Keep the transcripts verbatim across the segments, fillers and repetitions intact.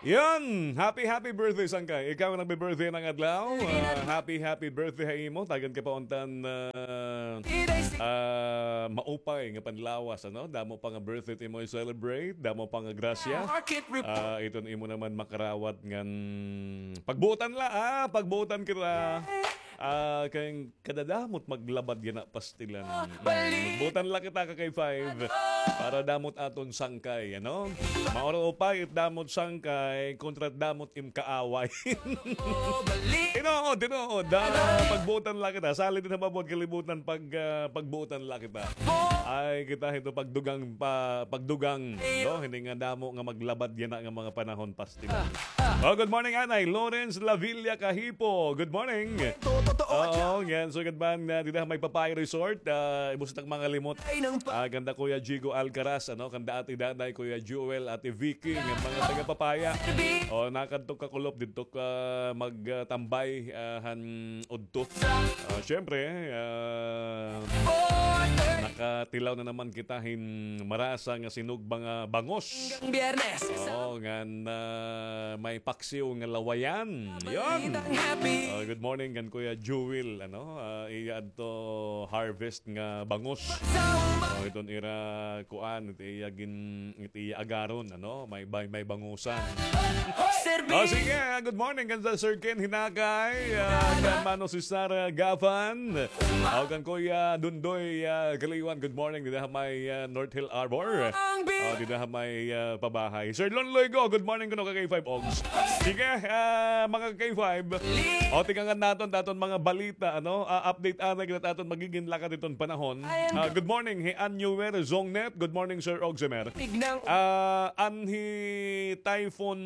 Yan! Happy, happy birthday, Sangkay. Ikaw nga nagbi-birthday ngada adlaw. Ah, happy, happy birthday ha imo. Tagan ka pa unta hin, ah, ah, maupay nga panlawas, ano? Damo pa nga birthday it imo i-celebrate, damo pa nga grasya. Ah, iton imo naman makarawat ngan pagbuotan la, ah, pagbuotan kita. Ah, kay kadadamot maglabad yana pastilan. Mm, magbuotan la kita, ka K five, para damo it aton sangkay, ano? Maupay it damo it sangkay, kontra it damo it im kaaway. Tinuod, tinuod. Ah, pagbuotan la kita. Sali dinhi ha mabuot kalibutan pag, ah, pagbuotan la kita. Ay, kita hito pagdugang pa, pagdugang, no? Hini nga damo nga maglabad yana nga mga panahon pastilan. Oh, good morning, Anay. Lawrence Lavilla Kahipo. Good morning. Oo, ngan sugad man, ah, dida ha may Papaya Resort, ah, imo sa mga limot. Ah, kanda Kuya Jigo Alcaraz, ano, kanda Ate Danay, Kuya Jewel, Ate Vicky, nga mga taga Papaya. Oh, nakadto kakulop didto ka magtambay, ah, han udto. Ah, syempre, ah, nakatilaw na naman kita hin marasa nga sinugba nga bangus. Hanggang Biyernes. Oo, ngan, ah, may paksiw nga lawayan. Yon. Oh, good morning kan Kuya Jewel, ano, ah, iya adto harvest nga bangus. Oh, iton ira kuan, it iya gin-, it iya agaron, ano, may, may, may bangusan. Oh, sige, ah, good morning kan Sir Ken Hinakay, ah, kan Mano Cesar, ah, Gavan. Oh, kan Kuya Dundoy, ah, Kaliwan, good morning. Dida ha may, ah, North Hill Arbor. Oh, dida ha may, ah, pabahay. Sir Lon Loigo, good morning kuno ka K five Ogs. Sige, ah, mga K five. O, tikangan naton, daton mga balita, ano? Ah, update anay kita daton magigin lakad iton panahon. Ah, good morning, hi Annuer Zongnet. Good morning, Sir Ogsemer. Ah, an hi Typhoon,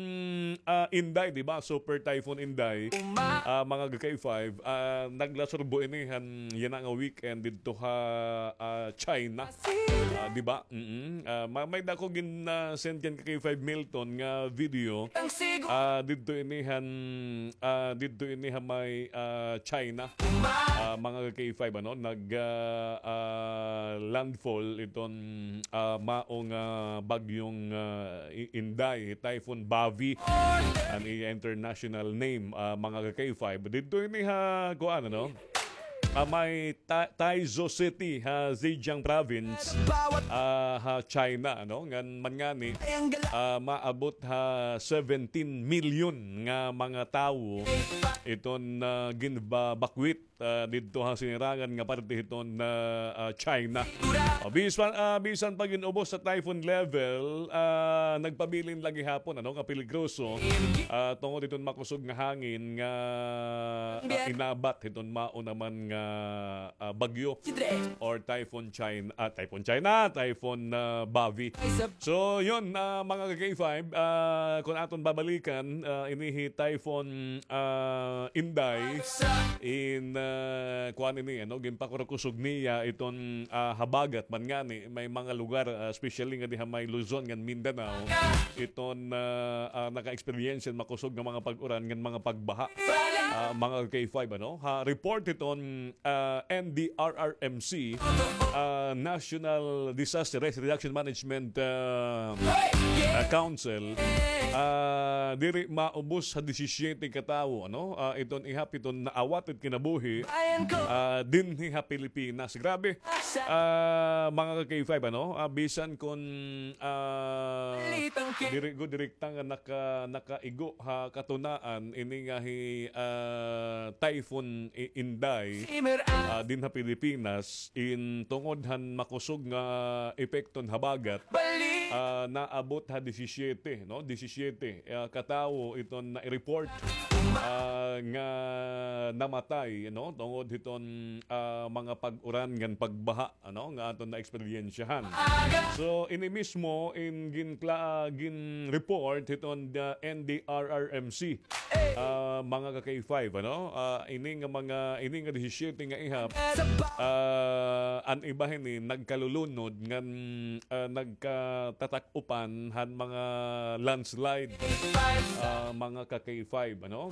ah, Inday, di ba? Super Typhoon Inday. Ah, mga K five, ah, naglasurbo ini han yana nga weekend didto ha, ah, China. Ah, di ba? Mm-mm. Ah, ma-, may dako gin, ah, send kan K five Milton nga video. Ah, didto ini han, ah, didto ini ha may, ah, China. Ah, mga K five, ano, nag, ah, ah, landfall iton, ah, mao nga bagyong, ah, I-, Inday, Typhoon Bavi, an iya international name, ah, mga K five. Didto ini ha, kuan, ano? Ah, may Ta-, Taizu City ha Zhejiang Province, ah, ha China, ano? Ngan man ngani, ah, maabot ha seventeen million nga mga tawo iton, ah, ginbabakwit, ah, didto ha sinirangan nga parte hiton, ah, ah, China. O, bisan, ah, bisan pa gin-ubos sa typhoon level, ah, nagpabilin la gihapon, ano, nga peligroso, ah, tungod hiton makusog nga hangin nga, ah, inabat hiton mao naman nga, ah, bagyo or typhoon China, ah, typhoon China, typhoon, ah, Bavi. So, yun, ah, mga ka K five, ah, kung aton babalikan, ah, ini hi Typhoon, ah, Inday, in, ah, kuan ini, ano, ginpakurkusog niya iton, ah, habagat man ngani, may mga lugar, ah, especially nga diha may Luzon ngan Mindanao, iton, ah, ah, naka-experience makusog nga mga pag-uran ngan mga pagbaha. Ah, mga ka K five, ano, ha, report iton ah, N D R R M C, ah, National Disaster Risk Reduction Management, ah, ah, Council, ah, diri maubos ha disisiete ka tawo, ano? Ah, iton ihap iton naawat it kinabuhi, ah, dinhi ha Pilipinas. Grabe. Ah, mga ka K five, ano? Ah, bisan kon, ah, diri gud direkta nga naka-, nakaigo ha katunaan ini nga hi, ah, Typhoon I-, Inday, ah, dinha Pilipinas, in tungod han makusog nga epekto han habagat, ah, naabot ha disisiete, no? Disisiete, ah, ka tawo iton na-report, ah, nga namatay, no? Tungod hiton, ah, mga pag-uran ngan pagbaha, ano, nga aton naeksperyensyahan. So, ini mismo in ginkla-, gin-report hiton the N D R R M C. Ah, mga ka K five, ano? Ah, ini nga mga, ini nga disisiete nga ihap, ah, an iba hini nagkalulunod ngan, ah, nagkatatak-upan han mga landslide, ah, mga ka K five, ano?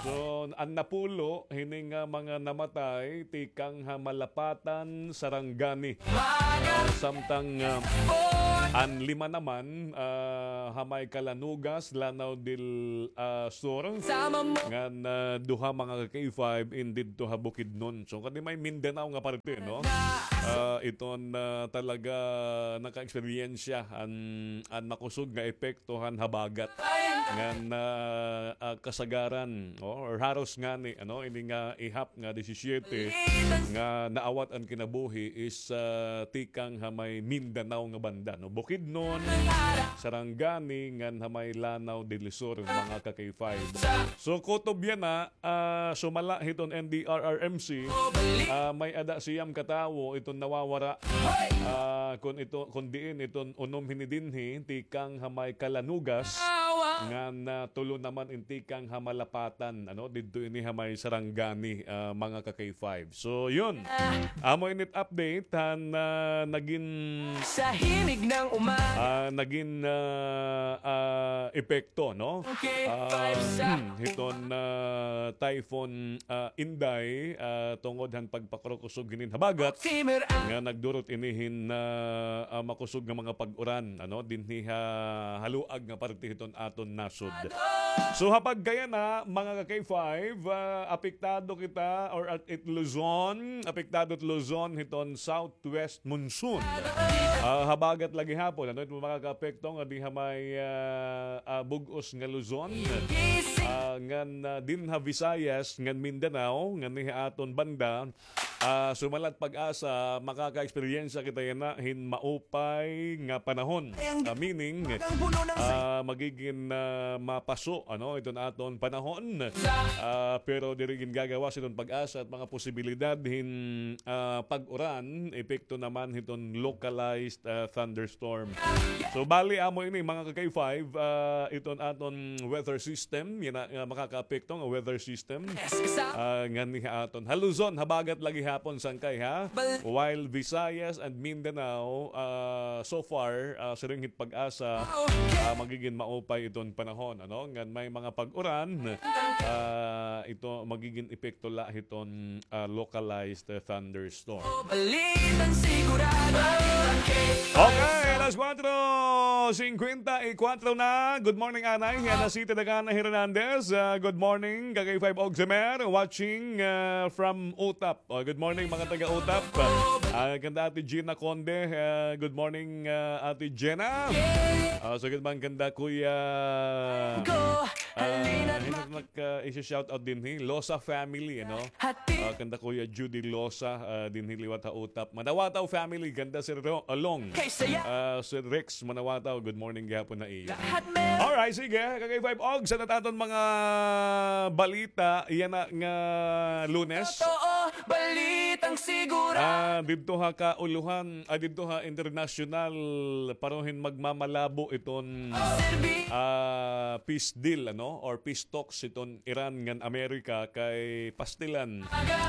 So, an napulo hini nga mga namatay tikang ha Malapatan, Sarangani. Ah, samtang, ah, an lima naman, ah, ha may Calanugas, Lanao del, ah, Sur, ngan, ah, duha, mga ka-K five, in didto ha Bukidnon. So, kadi may Mindanao nga parte, no? Ah, iton, ah, talaga naka-eksperyensya an, an makusog nga epekto han habagat. Ngan, ah, ah, kasagaran, o, or haros ngani, ano, ini nga ihap nga disisiete nga naawat an kinabuhi is, ah, tikang ha may Mindanao nga banda, no? Bukidnon, Sarangani, ngan ha may Lanao del Sur, mga ka-K five. So, kutob yana, ah, sumala hiton N D R R M C, ah, may-ada siyam ka tawo iton nawawara. Ah, kun ito, kun diin iton unom hini dinhi, tikang ha may Calanugas, ngan, ah, tulo naman in tikang ha Malapatan, ano, didto ini ha may Sarangani, ah, mga ka-K five. So, yun. Amo init update han, ah, nagin, ah, nagin, ah, ah, epekto, no? Ah, hiton, ah, Typhoon, ah, Inday, ah, tungod han pagpakurukusog hinin habagat nga nagdurot ini hin, ah, ah, makusog nga mga pag-uran, ano, dinhi ha haluag nga parte hiton aton nasod. So, ha pagkayana, mga ka-K five, ah, apektado kita or at it Luzon, apektado it Luzon hiton southwest monsoon. Ah, habagat la gihapon, ano, it mga kaapekto nga dinhi ha may, ah, ah, bug-os nga Luzon. Ah, ngan, ah, dinhi ha Visayas, ngan Mindanao, ngan dinhi ha aton banda, ah, sumalat PAGASA, makaka-eksperyensya kita yana hin maupay nga panahon. Ah, meaning, ah, magigin, ah, mapaso, ano, iton aton panahon. Ah, pero diri gin gagawas iton PAGASA it mga posibilidad hin, ah, pag-uran, epekto naman hiton localized, ah, thunderstorm. So, bali, amo ini, mga ka-K five, ah, iton aton weather system, yana nga makakaapekto nga weather system. Ah, nganhi ha aton ha Luzon, habagat la gihapon sangkay, ha? While Visayas and Mindanao, ah, so far, ah, siring hit PAGASA, ah, magigin maupay iton panahon, ano? Ngan may mga pag-uran, ah, ito magigin epekto la hiton, ah, localized, ah, thunderstorm. Okay, alas kuwatro singkwenta y kuwatro na. Good morning, anay. Yana si Tedagana Hernandez. Ah, good morning, ka-K five Ogsemer, watching, ah, from Utap. Oh, good morning, mga taga-Utap. Ah, kanda Ate Gina Conde. Ah, good morning, ah, Ate Gina. Ah, so, good man kanda Kuya, ah, hino nak, ah, isi-shout out dinhi, Losa family, ano? Ah, kanda Kuya Judy Losa, ah, dinhi liwat ha Utap. Manawataw family, kanda Sir Ro-, ah, Long. Ah, Sir Rex Manawataw, good morning gihapon ha iyo. Alright, sige, ka-K five, og sa aton mga balita yana nga Lunes. Ah, didto ha kaulohan, ah, didto ha internasyonal, pareho hin magmamalabo iton, ah, peace deal, ano, or peace talks iton Iran ngan Amerika kay pastilan.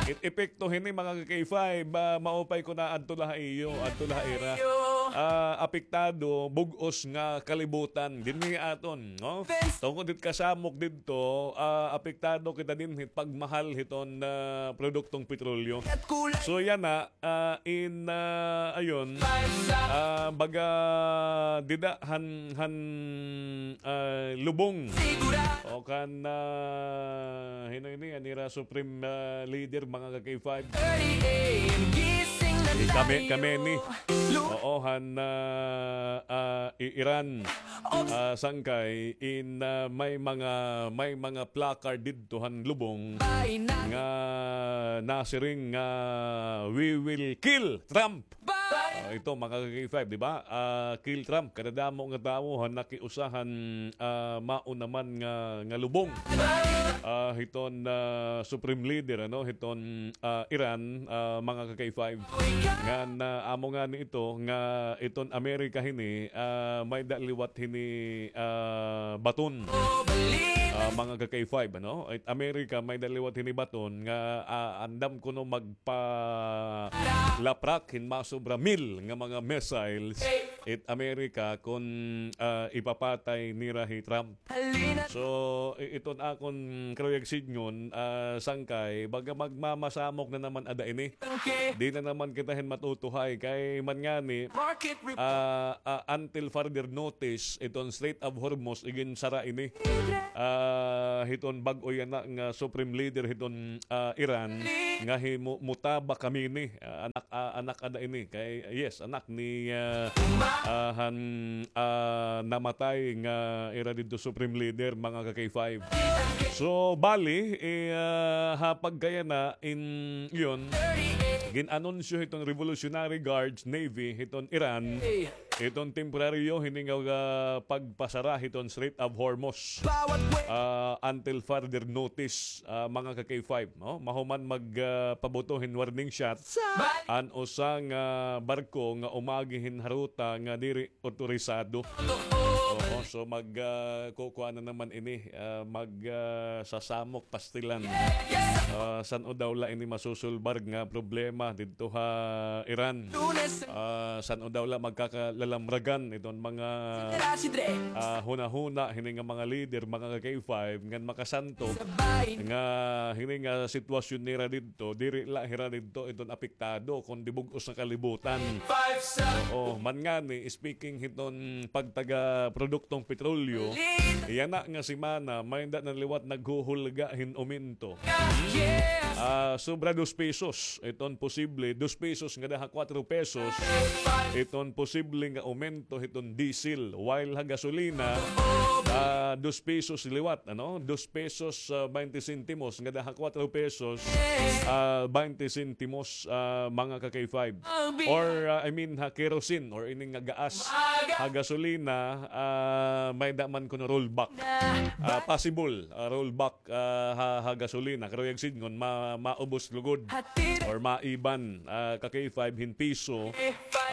It epekto hini, mga ka-K five, ah, maupay ko na adto la ha iyo, adto la ha ira. Ah, apektado, bug-os nga kalibutan dinhi aton, no? Tungod hit kasamok didto, ah, apektado kita dinhi pagmahal hiton, ah, produktong petrolyo. So, yana, ah, in, ah, ayon, ah, baga dida han, han, ah, lubong. O kan, ah, hino ini, an ira supreme, ah, leader, mga ka-K five. Kame-, Khamenei. Oo, han, ah, ah, i-, Iran. Ah, sangkay in, ah, may mga, may mga placard didto han lubong nga nasiring nga, "We will kill Trump." Ah, ito, mga ka-K five, di ba? Ah, kill Trump. Kadadamo nga tawo han nakiusa han, ah, mao naman nga, nga lubong. Ah, hiton, ah, Supreme Leader, ano, hiton, ah, Iran, ah, mga ka-K five. Ngan, ah, amo ngani ito nga iton Amerika hini, ah, may-ada liwat hini, ah, baton. Ah, mga ka-K five, ano? It Amerika may-ada liwat hini baton nga, ah, andam kuno magpalaprak hin masobra mil nga mga missiles it Amerika kon, ah, ipapatay nira hi Trump. So, i-, iton akon karuyag sidngon, ah, Sangkay, baga magmamasamok na naman ada ini. Di na naman kita hin matutuhay kay man ngani, ah, ah, until further notice, iton Strait of Hormuz iginsara ini. Ah, hiton bag-o yana nga supreme leader hiton, ah, Iran nga hi Mu-, Mujtaba Khamenei, ah, anak, ah, anak ada ini kay, yes, anak ni, ah, ah, han, ah, namatay nga ira didto supreme leader, mga ka-K five. So, bali, eh, ah, ha pagkayana in, iyon, gin-anunsyo hiton Revolutionary Guards Navy hiton Iran, hiton temporaryo hini nga, ah, pagpasara hiton Strait of Hormuz, ah, until further notice, ah, mga ka-K five, no? Mahuman mag, ah, pabuto hin warning shot an usa nga barko nga umagi hin ha ruta nga diri otorisado. Oo, so mag, ah, kukuan na naman ini, ah, mag, ah, sasamok pastilan. Ah, san-o daw la ini masusulbar nga problema didto ha Iran? Ah, san-o daw la magkakalalamragan iton mga, ah, hunahuna hini nga mga leader, mga ka-K five, ngan makasantog nga hini nga sitwasyon nira didto, diri la hira didto iton apektado, kundi bug-os nga kalibutan. Oo, man ngani, speaking hiton pagtaga produktong petrolyo, yana nga semana, may-ada na liwat naghuhulga hin uminto. Ah, sobra dos pesos, iton posible, dos pesos ngada ha kuwatro pesos, iton posible nga aumento hiton diesel. While ha gasolina, ah, dos pesos liwat, ano? Dos pesos, ah, baynte sentimos ngada ha kuwatro pesos, ah, baynte sentimos, ah, mga ka-K five. Or, ah, I mean, ha kerosene or ini nga gaas, ha gasolina, ah, may-ada man kuno rollback. Ah, possible, ah, rollback, ah, ha, ha gasolina. Karuyag sidngon, ma-, maubos lugod or maiban, ah, ka-K five hin piso,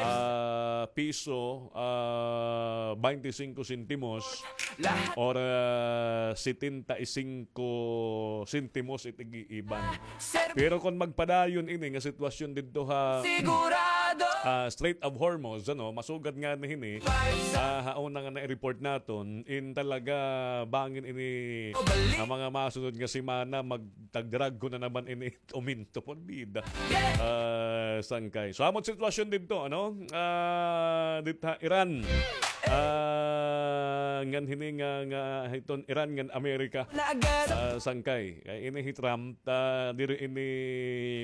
ah, piso, ah, baynte singko sentimos or, ah, setenta y cinco sentimos it ig-iiban. Pero kon magpadayon ini nga sitwasyon didto ha, ah, Strait of Hormuz, ano, masugad ngani hini, ah, ha una nga na-report naton, in talaga bangin ini ha mga masunod nga semana, magtagdrag ko na naman ini uminto pon bida. Ah, Sangkay. So, amo it sitwasyon didto, ano? Ah, dit ha Iran. Ah, ngan hini nga, nga hiton Iran ngan Amerika. Ah, Sangkay. Kay ini hi Trump, ah, diri ini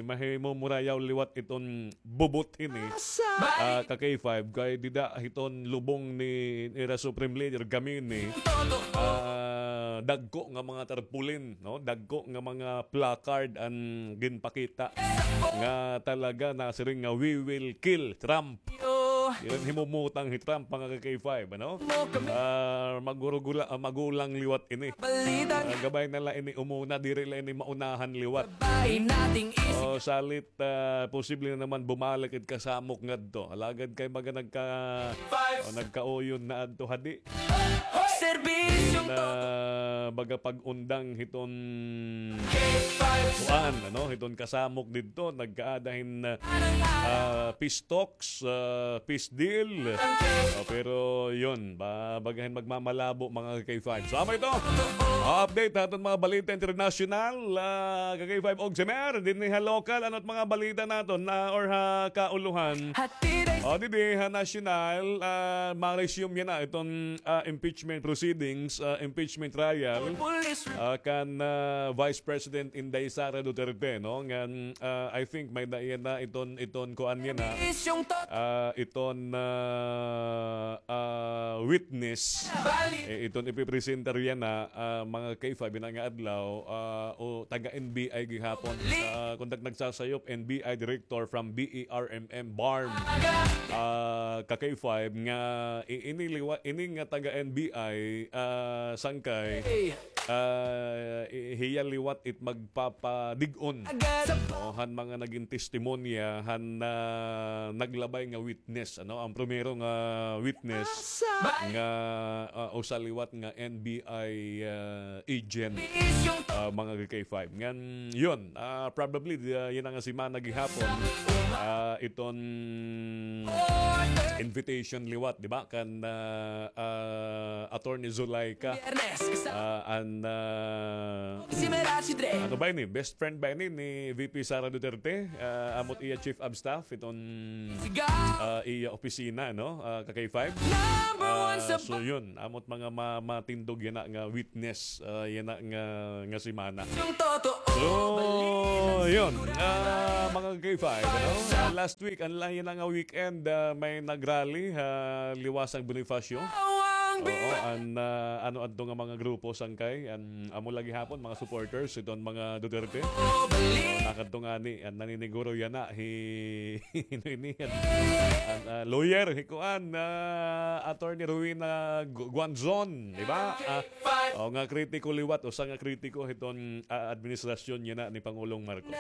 mahimumurayaw liwat iton bubot hini. Ah, ka-K five, kay dida hiton lubong ni, nira Supreme Leader Khamenei, ah, dagko nga mga tarpaulin, no? Dagko nga mga placard an ginpakita nga talaga nasiring nga, "We will kill Trump." Iran himumutang hi Trump, mga ka-K five, ano? Ah, magurugula-, ah, magulang liwat ini. Ah, gabay na la ini umuna, diri la ini maunahan liwat. O, salit, ah, posible na naman bumalik it kasamok ngadto. Alagad kay baga nagka-, o, nagkauyon na adto hadi. Serbisyong na baga pag-undang hiton kuan, ano, hiton kasamok didto, nagkaada hin, ah, peace talks, ah, peace deal. O, pero yun, ba-, baga hin magmamalabo, mga ka-K five. So, amo ito. Ah, update ha aton mga balita internasyonal, ah, ka-K five Ogsemer, dinhi ha lokal, ano it mga balita naton, ah, or ha kauluhan? O, didi ha nasyonal, ah, ma-resume yana iton, ah, impeachment proceedings, ah, impeachment trial, ah, kan, ah, Vice President Inday Sara Duterte, no? Ngan, ah, I think may-ada yana iton, iton kuan yana, ah, iton, ah, ah, witness, eh, iton ipipresentar yana, ah, mga ka-K five yana nga adlaw, ah, o taga-N B I gihapon. Ah, kon nag-, nagsasayop, N B I director from B E R M M, BARMM. ah, ka K five nga i-, ini liwa-, ini nga taga N B I, ah, sangkay, ah, i-, hiya liwat it magpapadig-on, no, han mga nagin testimonya, han, ah, naglabay nga witness, ano, an primero nga witness nga, ah, usa liwat nga N B I, ah, agent, ah, mga ka K five. Ngan, yun, ah, probably, ah, yana nga semana gihapon, ah, iton invitation liwat, di ba? Kan, ah, ah, Attorney Zuleika, ah, an, ah, ano ba ini? Best friend ba ini ni V P Sara Duterte? Ah, amo it iya chief of staff iton, ah, iya opisina, no? Ah, ka K five. Ah, so yun, amo it mga ma-, matindog yana nga witness, ah, yana nga, nga semana. So, yun, ah, mga ka K five, ano? Ah, last week, an la-, yana nga weekend, ah, may nag-rally ha liwasang Bonifacio. Oo, an, ah, ano adto nga mga grupo, sangkay, an amo la gihapon, mga supporters iton mga Duterte. So, nakadto ngani, an naniniguro yana, hi, hino ini, an, an, ah, lawyer, hi kuan, ah, Attorney Rowena Gu-, Guanzon, di ba? Ah, o, nga kritiko liwat, usa nga kritiko hiton, ah, administrasyon yana ni Pangulong Marcos.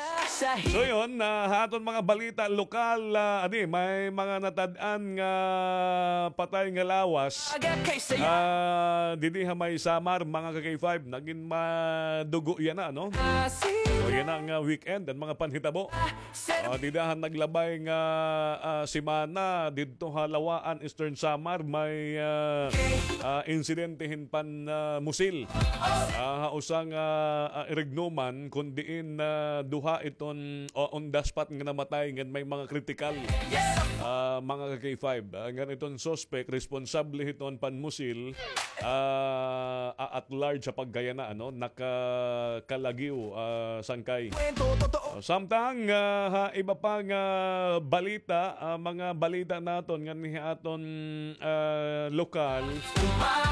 So yun, ah, ha aton mga balita lokal, ah, adi, may mga natad-an nga patay nga lawas. Ah, didi ha may Samar, mga ka K five, nagin madugo yana, no? So yana nga weekend, an mga panhitabo. Ah, dida han naglabay nga, ah, semana, didto ha Lawaan, Eastern Samar, may, ah, ah, insidente hin pan, ah, musil. Ah, ha usa nga, ah, irignuman, kun diin, ah, duha iton, o, on the spot nga namatay, ngan may mga kritikal, ah, mga ka K five. Ah, ngan iton suspect, responsable hiton panmusil, ah, a-, at large ha pagkayana, ano, nakakalagiw, ah, sangkay. Samtang, ah, ha iba pa nga balita, ah, mga balita naton nganhi ha aton, ah, lokal,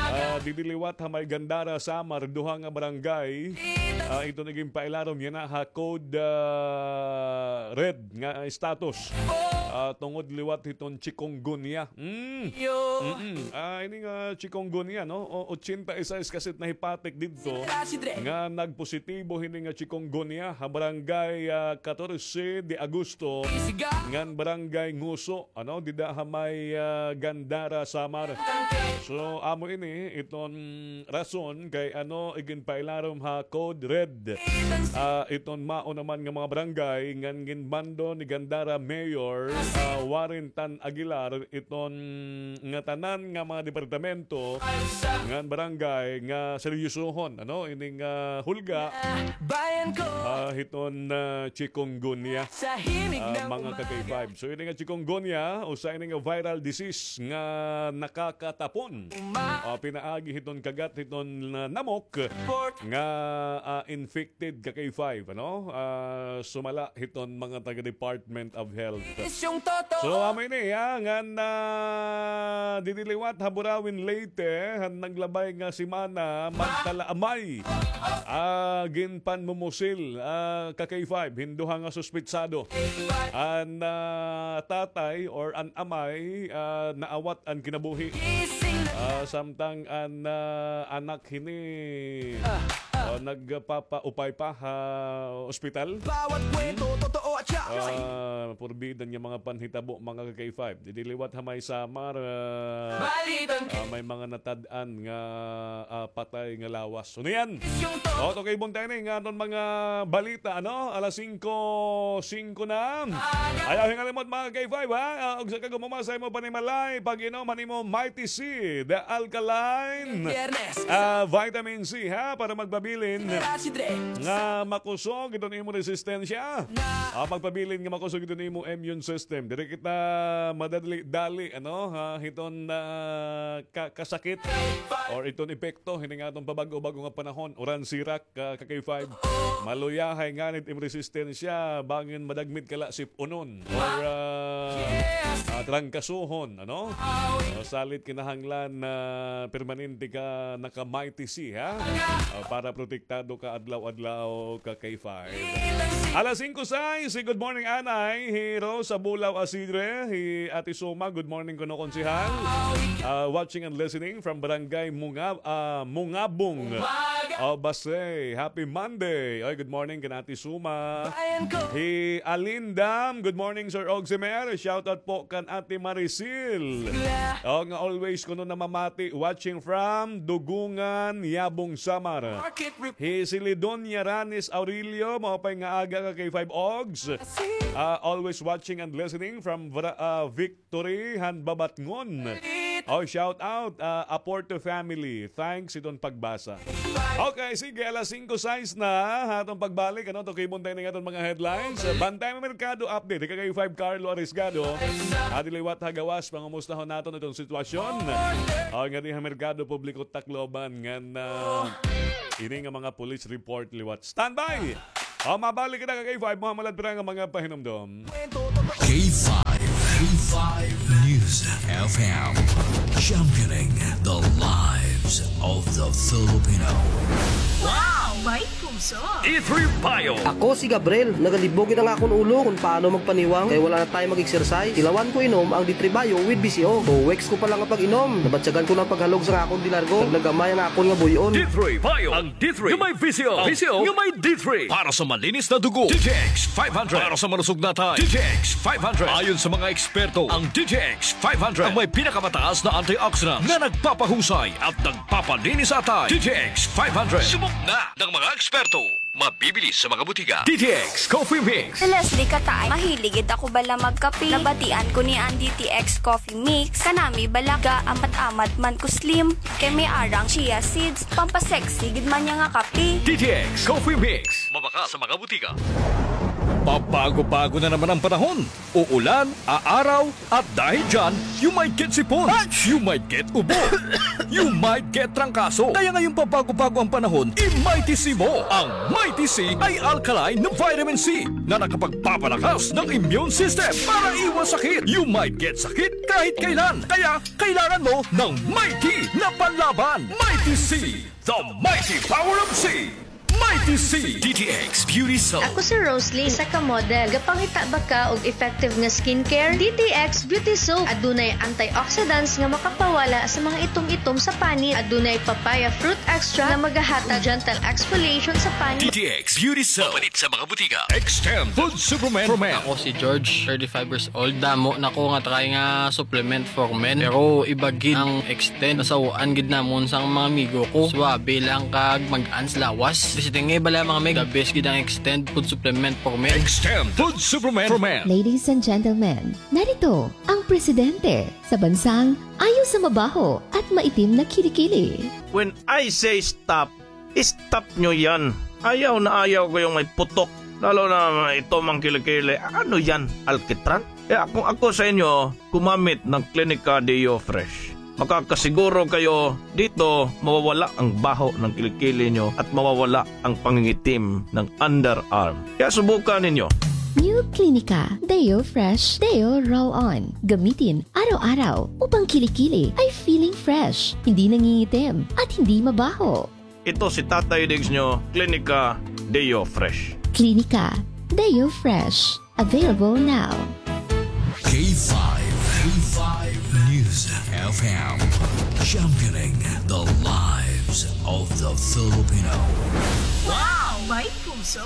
ah, didi liwat ha may Gandara, Samar, duha nga barangay, ah, iton iginpailarom yana ha code, ah, red nga status. Ah, tungod liwat hiton chikungunya. Mm. Mm-mm. Ah, ini nga chikungunya, no? O, ochenta y seis kasi it nahipatik didto nga nagpositibo hini nga chikungunya ha barangay, ah, Catorce de Agosto, ngan barangay Nguso, ano, dida ha may, ah, Gandara, Samar. So, amo ini iton rason kay ano iginpailarom ha Code Red. Ah, iton mao naman nga mga barangay ngan ginmando ni Gandara Mayor, ah, Warren Tan Aguilar, iton ngatanan nga mga departamento ngan barangay nga seryosohon, ano, ining, ah, hulga, ah, hiton, ah, chikungunya, ah, mga ka K five. So, ini nga chikungunya, usa ini nga viral disease nga nakakatapon, ah, pinaagi hiton kagat hiton, ah, namok nga, ah, infected ka K five, ano? Ah, sumala hiton mga taga Department of Health. So, amo ini, ha, ngan, ah, didi liwat ha Burauen, Leyte, han naglabay nga semana, magtalaamay, ah, ginpanmumusil, ah, ka K five hin duha nga suspetsado. An, ah, tatay or an amay, ah, naawat an kinabuhi. Ah, samtang an, ah, anak hini, ah, nagpapaupay pa ha ospital. Ah, purbida nga mga panhitabo, mga ka K five. Didi liwat ha may Samar, ah, ah, may mga natad-an nga, ah, patay nga lawas. So, niyan. O, okay, buntay ni nga aton mga balita, ano? Alas singko, singko na. Ayaw hingalimot, mga K five, ha? Ah, ugsa ka gumuma sa imo panimalay, pag-inom han imo Mighty Seed Alkaline, ah, Vitamin C, ha? Para magpabilin nga makusog iton imo resistensya. Ah, magpabilin nga makusog iton imo immune system. Diri kita madali-dali, ano, ha? Hiton, ah, ka-, kasakit or iton epekto hini nga aton pabag-o-bag-o nga panahon, uran sirak, ah, ka K five. Maluyahay ngani it im resistensya, bangin madagmit ka la sip-unon or, ah, ah, trangkasuhon, ano? O, salit kinahanglan na permanente ka naka-Mighty C, ha? Ah, para protektado ka adlaw-adlaw ka K five. Alas singko sais, good morning, Anay. Hi Rosa Bulao Asidre, hi Ate Suma, good morning kuno, Konsehal. Ah, watching and listening from Barangay Munga-, ah, Mungabong. O, Basey, happy Monday. Oy, good morning kan Ate Suma. Hi Alindam, good morning, Sir Ogsimer. Shout out po kan Ate Maricel. O, nga always kuno namamati, watching from Dugungan, Yabong, Samar. Hi Celidonia Ranis Aurelio, maupay nga aga ka K five Ogs. Ah, always watching and listening from Vra-, ah, Victory han Babatngon. O, shout out, ah, Aporto family. Thanks iton pagbasa. Okay, sige, alas singko sais na ha aton pagbalik, ano, tukibon ta ini nga aton mga headlines. Bantay mo merkado update, ika kay five Carlo Arisgado. Adi liwat ha gawas, pangumustahon naton iton sitwasyon. O, ngadi ha merkado publiko Tacloban, ngan, ah, ini nga mga police report liwat. Standby! O, mabalik kita ka K five, Muhammad Pira nga mga pahinumdom. K five, K five News F M, championing the lives of the Filipino. Wow! May puso! D three Bio. Ako si Gabriel. Nagalibog gid an akon ulo kon paano magpaniwang kay wala na time mag-exercise. Tilawan ko inom ang D three Bio with V C O. Two weeks ko pa lang nga pag-inom, nabatyagan ko na an paghalog sa akon dilargo. Naglagamay an akon nga buy-on. D three Bio. Ang D three nga may V C O. Ang V C O nga may D three. Para sa malinis na dugo, D T X five hundred. Para sa malusog na atay, D T X five hundred. Ayon sa mga eksperto, ang D T X five hundred ang may pinakamataas na antioxidants na nagpapahusay at nagpapalinis sa atay. D T X five hundred. Subok na ng mga eksperto. Mabibili sa mga butika. D T X Coffee Mix. Si Leslie Kataay, mahilig gid ako bala magkape. Nabatian ko ni an D T X Coffee Mix. Kanami bala, gaamat-amat man ko slim. Kay may arang chia seeds, pampasexy gid man niya nga kape. D T X Coffee Mix. Mabakal sa mga butika. Pabago-bago na naman ang panahon. Uulan, aaraw, at dahil dyan, you might get sipon, you might get ubo, you might get trangkaso. Kaya ngayong pabago-bago ang panahon, i-Mighty C mo. Ang Mighty C ay alkaline na vitamin C na nakapagpapalakas ng immune system para iwas sakit. You might get sakit kahit kailan. Kaya kailangan mo ng Mighty na panlaban. Mighty C, the mighty power of C. Mighty C. D T X Beauty Soap. Ako si Roslyn, isa ka model. Gapangita ba ka og effective nga skincare? D T X Beauty Soap. Adunay antioxidants nga makapawala sa mga itom-itom sa panit. Adunay papaya fruit extract nga magahatag gentle exfoliation sa panit. D T X Beauty Soap. Mapalit sa mga butika. Extend Food Supplement for Men. Ako si George, thirty-five years old. Damo na ko nga try nga supplement for men. Pero iba gid ang Extend. Nasaw-an gid namon sang mga amigo ko. Suabe lang kag mag-ans lawas. Basta tingay bala, mga meg, the best gid ang Extend food supplement for men. Extend food supplement for men. Ladies and gentlemen, narito ang presidente sa bansang ayaw sa mabaho at maitim na kilikili. When I say stop, stop nyo yan. Ayaw na ayaw ko yung may putok. Lalo na may itom ang kilikili. Ano yan? Alkitran? Kaya kung ako sa inyo, gumamit ng Clinica Deo Fresh. Makakasiguro kayo dito, mawawala ang baho ng kilikili nyo at mawawala ang pangingitim ng underarm. Kaya subukan ninyo. New Clinica Deo Fresh Deo Roll-On. Gamitin araw-araw upang kilikili ay feeling fresh, hindi nangingitim, at hindi mabaho. Ito si Tatay Diggs nyo, Clinica Deo Fresh. Clinica Deo Fresh. Available now. K five, K five News F M. Championing the lives of the Filipino. Wow! May puso!